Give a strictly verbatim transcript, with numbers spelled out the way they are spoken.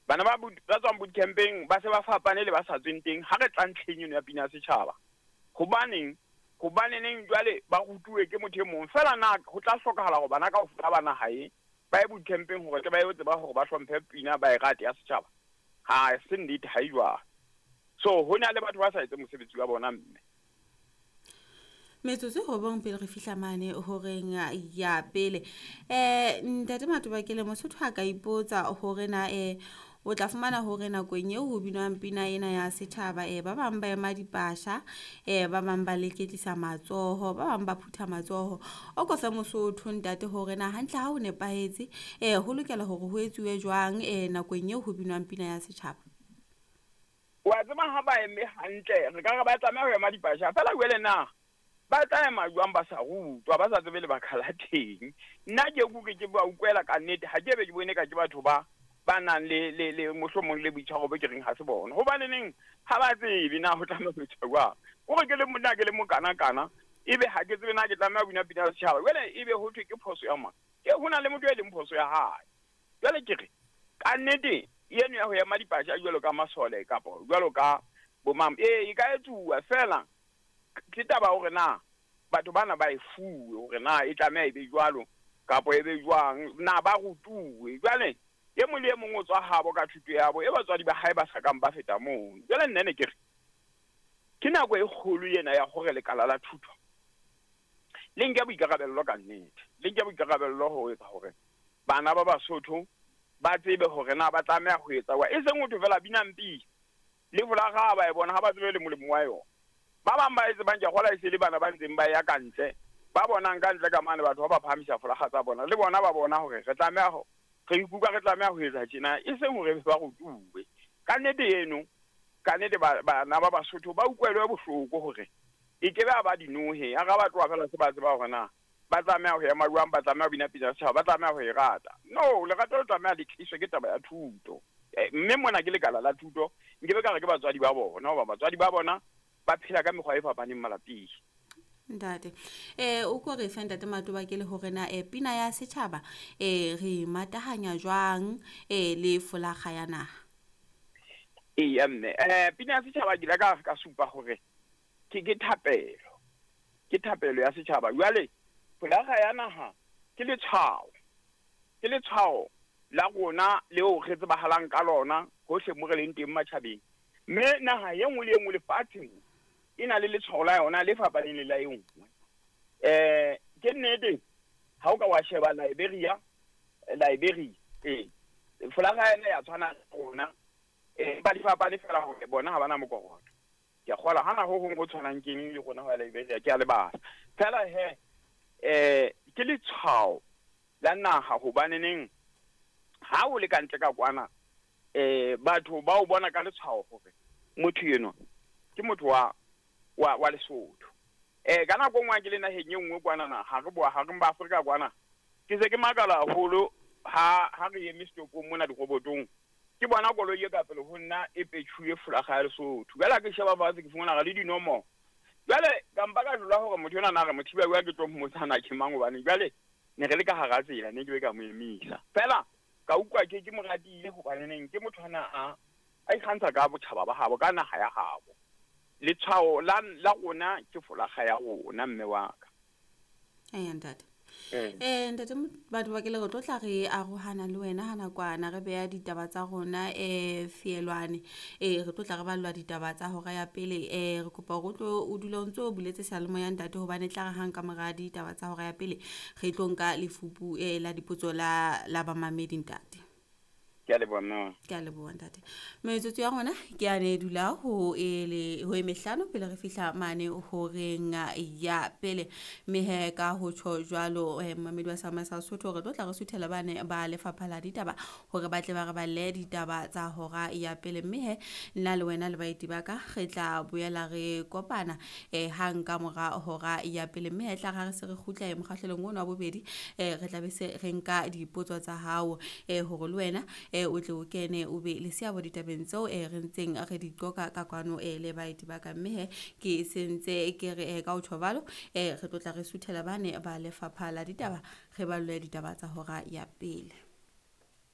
Bana ba ba tswang boot campeng ba se ba fapane le ba sa tsweng teng ha re tla ntlheng eno ya pina ya setjhaba. Hobaneng? Hobaneneng jwale ba rutuwe ke motho e mong fela na ho tla hlokahala hore bana kaofela ba naha e ba ye boot campeng hore tle ba yo tseba hore ba hlomphe pina ba e rate ya setjhaba. Ha se nnete, ha e jwalo. So ho na le batho ba sa etse mosebetsi wa bona mme. Metsotso robong pele re fihla mane horeng ya pele. Eh ntate Matobakele, Mosotho a ka ipotsa hore na eh o tla fumana hore nakong eo ho binwang pina ena ya setjhaba eh ba bang ba ema dipasha, eh ba bang ba leketlisa matsoho, ba bang ba phutha matsoho. O ko fe Mosotho ntate hore na hantle ha ho nepahetse eh ho lokela hore ho etsuwe jwang eh nakong eo ho binwang pina ya setjhaba. Wa tseba ha ba eme hantle re ka re ba tlameha ho ema dipasha fela jwale na ba tla ema jwang ba sa rutwa, ba sa tsebe lebaka la teng. Nna ke kuke ke ba utlwela ka nnete, ha ke be ke bone ka ke batho ba ba nang le le le mohlomong le boitshwaro bo ke reng ha se bona. Hobaneneng ha ba tsebe na ho tlameha ho etsa jwang. Kore ke le monna ke le mokana-kana, ebe ha ke tsebe na ke tlameha ho bina pina ya setjhaba. Jwale ebe ho thwe ke phoso ya mang? Ke ho na le motho e leng phoso ya hae. Jwale ke re ka nnete eno ya ho ema dipasha jwalo ka masole kapa jwalo ka bo mang, ee e ka etsuwa fela. Ke taba hore na batho bana ba e fuwe hore na e tlameha e be jwalo kapa e be jwang, na ba rutuwe. Jwale e mong le e mong o tswa habo ka thuto ya bo e batswadi ba hae ba sa kang ba feta mono. Jwale nna ne ke re ke nako e kgolo ena ya hore lekala la thuto le nke boikarabello ka nnete, le nke boikarabello ho etsa hore bana ba Basotho ba tsebe hore na ba tlameha ho etsa wa. E seng ho thwe fela binang pina le folaga ba e bona ha ba tsebe le molemo wa yona. Ba bang ba etse bang ke kgola e se le bana ba ntseng ba ya ka ntle, ba bonang ka ntle ka mane batho ba ba phahamisa folaga tsa bona, le bona ba bona hore re tlameha ho re ikutlwa re tlameha ho etsa tjena, e seng hore ba rutuwe. Ka nnete eno, ka nnete bana ba Basotho ba utlwelwe bohloko hore e ke be ba dinohe, ha ba tloha fela se ba tseba hore na ba tlameha ho ema jwang, ba tlameha ho bina pina ya setjhaba, ba tlameha ho e rata. No, lerato le tlameha le tliswe ke taba ya thuto. Mme mona ke lekala la thuto, nkebe ka re ke batswadi ba bona, hoba batswadi ba bona ba phela ka mekgwa e fapaneng malapeng. Ntate, eh o ko re fe ntate Matobakele hore na eh pina ya setjhaba eh re matahanya jwang eh le folaga ya naha? Eya mme, eh pina ya setjhaba ke ile ka ka supa hore ke ke thapelo. Ke thapelo ya setjhaba. Jwale folaga ya naha ke letshwao. Ke letshwao la rona leo re tsebahalang ka lona hohle mo re leng teng matjhabeng. Mme naha e nngwe le e nngwe lefatsheng e na le letshwao la yona le fapaneng le la e nngwe. Eh ke nnete ha o ka wa sheba Liberia, Liberia eh folaga ena ya tshwana le rona, eh ba di fapane fela hore bona ha bana mokoroto. Ke a kgola hana ho hong ho tshwanang keng le rona ho ya Liberia, ke a lebala. Fela he eh ke letshwao la naha hobaneneng ha o le ka ntle ka kwana eh batho ba o bona ka letshwao hore motho eno ke motho wa wa wa Lesotho. Eh ka nako nngwe ke le naheng e nngwe kwana na ha re boa ha re ba Afrika kwana ke se ke makala haholo ha ha re eme setopong mona dirobotong ke bona koloi e ka pele ho nna e petšhuwe folaga ya Lesotho. Jwale ha ke sheba fatshe ke fumana le dinomoro. Jwale ka mpa ka dula hore motho enwa na re mothiba wa ke tlo mmotsana ke mang, hobane jwale ne re le ka hara tsela ne ke be ka mo emisa. Fela ka utlwa ke ke mo ratile hobaneneng ke motho ana a a ikgantsha ka botjhaba ba habo, ka naha ya habo. Letshwao la la rona ke folaga ya rona mme wa ka. Eh ntate. Eh ntate Matobakele re tlo tla re arohana le wena ha nakwana re beha ditaba tsa rona eh fielwane. Eh re tlo tla re ballwa ditaba tsa hora ya pele. Eh re kopa hore o tlo o dule o ntso o buletse seyalemoya ntate, hobane tla re hang ka mora ditaba tsa hora ya pele re tlo nka lefupu eh la dipotso la la bamamedi ntate. Ke a leboha mme. Ke a leboha ntate. Metsotso ya rona ke a ne dula ho e le ho e mehlano pele re fihla mane horeng ya pele. Mme he ka ho tjho jwalo eh momamedi wa Sama sa Sotho re tlo tla re suthela bane ba lefapha la ditaba hore ba tle ba re balle ditaba tsa hora ya pele. Mme he nna le wena le baeti ba ka re tla boela re kopana eh hang ka mora hora ya pele. Mme he tla re se re kgutla e mokgahlelong ono wa bobedi eh re tla be se re nka dipotso tsa hao eh hore le wena eh o tle o kene o be le seabo ditabeng tseo eh re ntseng re di qoka ka kwano eh le baeti ba ka. Mme he ke sentse ke re eh ka ho tjho eh re tlo tla re suthela bane ba lefapha la ditaba re balle ditaba tsa hora ya pele.